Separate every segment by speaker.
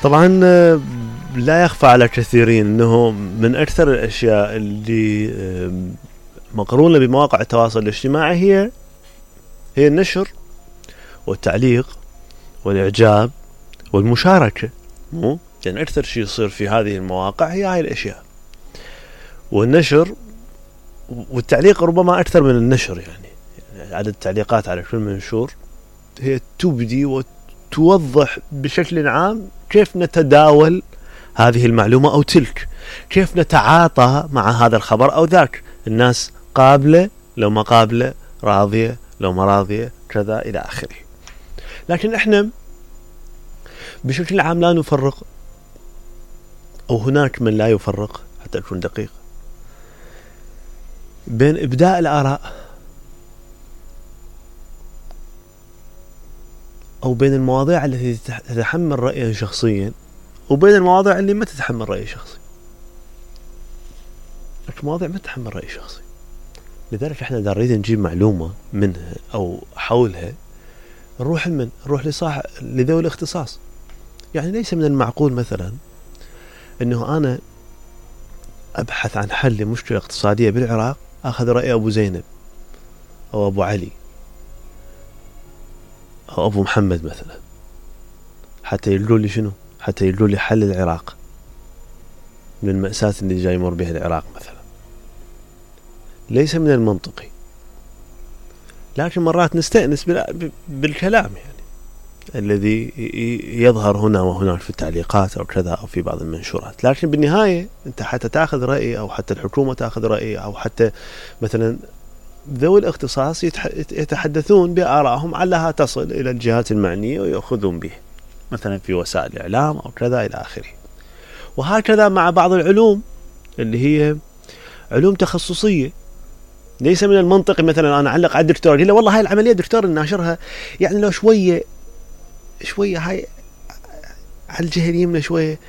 Speaker 1: طبعا لا يخفى على كثيرين انه من اكثر الاشياء اللي مقرونة بمواقع التواصل الاجتماعي هي النشر والتعليق والاعجاب والمشاركة. يعني اكثر شيء يصير في هذه المواقع هي هاي الاشياء، والنشر والتعليق ربما اكثر من النشر. يعني عدد التعليقات على كل منشور هي تبدي وتوضح بشكل عام كيف نتداول هذه المعلومة أو تلك، كيف نتعاطى مع هذا الخبر أو ذاك. الناس قابلة لو ما قابلة، راضية لو ما راضية، كذا إلى آخره. لكن إحنا بشكل عام لا نفرق، أو هناك من لا يفرق حتى أكون دقيق، بين إبداء الآراء أو بين المواضيع التي تتحمل رأيا شخصيا وبين المواضيع اللي ما تتحمل رأي شخصي. المواضيع ما تتحمل رأي شخصي، لذلك احنا إذا نريد نجيب معلومة منها أو حولها نروح لذوي الاختصاص. يعني ليس من المعقول مثلا انه انا ابحث عن حل لمشكلة اقتصادية بالعراق اخذ رأي ابو زينب او ابو علي او ابو محمد مثلا، حتى يقولوا لي شنو؟ حتى يقولوا لي حل العراق من المأساة اللي جاي يمر بها العراق مثلا. ليس من المنطقي، لكن مرات نستأنس بالكلام يعني الذي يظهر هنا وهناك في التعليقات أو كذا أو في بعض المنشورات. لكن بالنهاية أنت حتى تأخذ رأي أو حتى الحكومة تأخذ رأي أو حتى مثلا ذوي الاختصاص يتحدثون بآرائهم علها تصل إلى الجهات المعنية ويأخذون به مثلا في وسائل الإعلام أو كذا إلى آخره. وهكذا مع بعض العلوم اللي هي علوم تخصصية. ليس من المنطقي مثلا أنا أعلق على الدكتور يقول له والله هاي العملية دكتور الناشرها يعني لو شوية هاي على الجهة اليمنى شوية،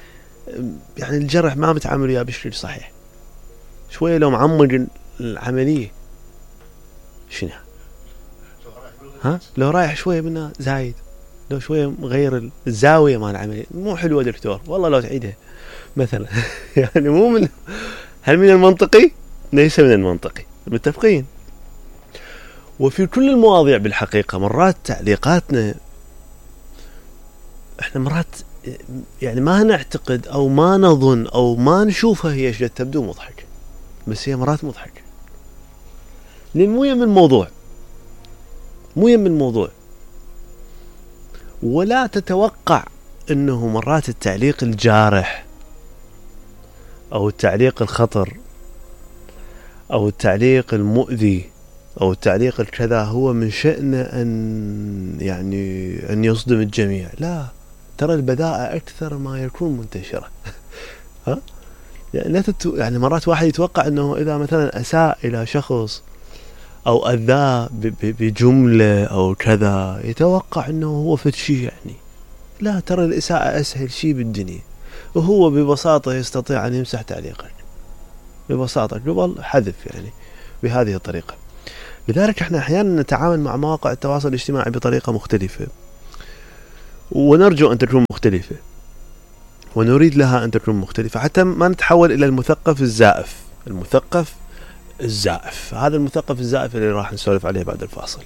Speaker 1: يعني الجرح ما متعامل وياه بشكل صحيح، شوية لو معمق العملية شنو لو رايح شوية منها زايد، لو شوية مغير الزاوية مال العملية مو حلوة دكتور والله لو تعيدها مثلا. يعني مو من هل من المنطقي؟ ليس من المنطقي، متفقين. وفي كل المواضيع بالحقيقة مرات تعليقاتنا احنا مرات يعني ما نعتقد او ما نظن او ما نشوفها هي شيء تبدو مضحكة، بس هي مرات مضحكة لان مو يم الموضوع، ولا تتوقع انه مرات التعليق الجارح او التعليق الخطر او التعليق المؤذي او التعليق الكذا هو من شأنه ان يصدم الجميع. لا، ترى البذاءة اكثر ما يكون منتشرة. يعني مرات واحد يتوقع انه اذا مثلا اساء الى شخص او اذاه بجملة او كذا يتوقع انه هو فد شيء يعني. لا، ترى الاساءة اسهل شيء بالدنيا، وهو ببساطة يستطيع ان يمسح تعليقك ببساطة قبل حذف يعني بهذه الطريقة. لذلك احنا احيانا نتعامل مع مواقع التواصل الاجتماعي بطريقة مختلفة، ونرجو ان تكون مختلفة، ونريد لها ان تكون مختلفة حتى ما نتحول الى المثقف الزائف. هذا المثقف الزائف اللي راح نسولف عليه بعد الفاصل.